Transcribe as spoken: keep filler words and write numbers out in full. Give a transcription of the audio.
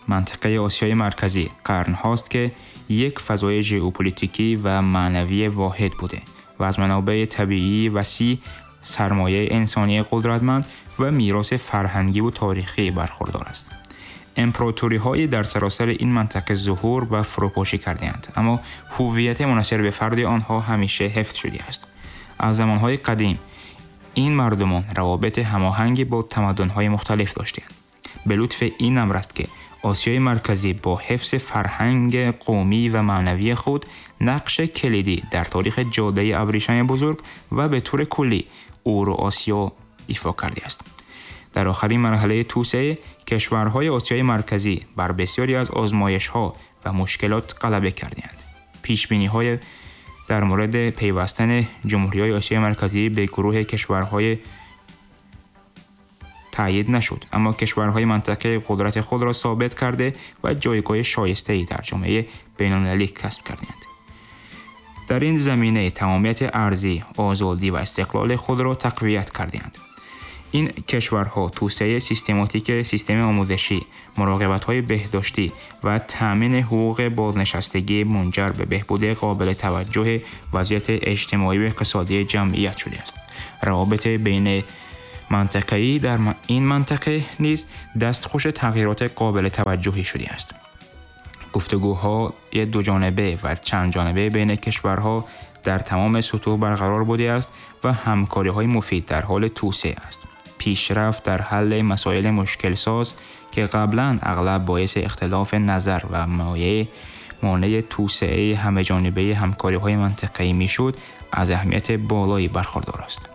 منطقه آسیای مرکزی قرن هاست که یک فضای ژئوپلیتیکی و معنوی واحد بوده و از منابع طبیعی وسیع، سرمایه انسانی قدرتمند و میراث فرهنگی و تاریخی برخوردار است. امپراتوری‌های در سراسر این منطقه ظهور و فروپاشی کرده‌اند، اما هویت منحصر به فرد آنها همیشه حفظ شده است. از زمان‌های قدیم این مردمان روابط هماهنگی با تمدن‌های مختلف داشتند. به لطف این امر است که آسیای مرکزی با حفظ فرهنگ قومی و معنوی خود نقش کلیدی در تاریخ جاده ابریشم بزرگ و به طور کلی اورو آسیا ایفا کرده است. در آخرین مرحله توسعه، کشورهای آسیای مرکزی بر بسیاری از آزمایش‌ها و مشکلات غلبه کردند. پیش‌بینی‌های در مورد پیوستن جمهوری‌های آسیای مرکزی به گروه کشورهای تأیید نشد، اما کشورهای منطقه قدرت خود را ثابت کرده و جایگاه شایسته‌ای در جامعه بین‌المللی کسب کردند. در این زمینه تمامیت ارضی، آزادی و استقلال خود را تقویت کردند. این کشورها توسعه سیستماتیک سیستم آموزشی، مراقبت‌های بهداشتی و تأمین حقوق بازنشستگی منجر به بهبود قابل توجه وضعیت اجتماعی و اقتصادی جمعیت شده است. روابط بین منطقه‌ای در این منطقه نیز دستخوش تغییرات قابل توجهی شده است. گفتگوهای دو جانبه و چند جانبه بین کشورها در تمام سطوح برقرار بوده است و همکاری‌های مفید در حال توسعه است. پیشرفت در حل مسائل مشکل ساز که قبلاً اغلب باعث اختلاف نظر و مایه مانع توسعه همه جانبه همکاری‌های منطقه‌ای می‌شد، از اهمیت بالایی برخوردار است.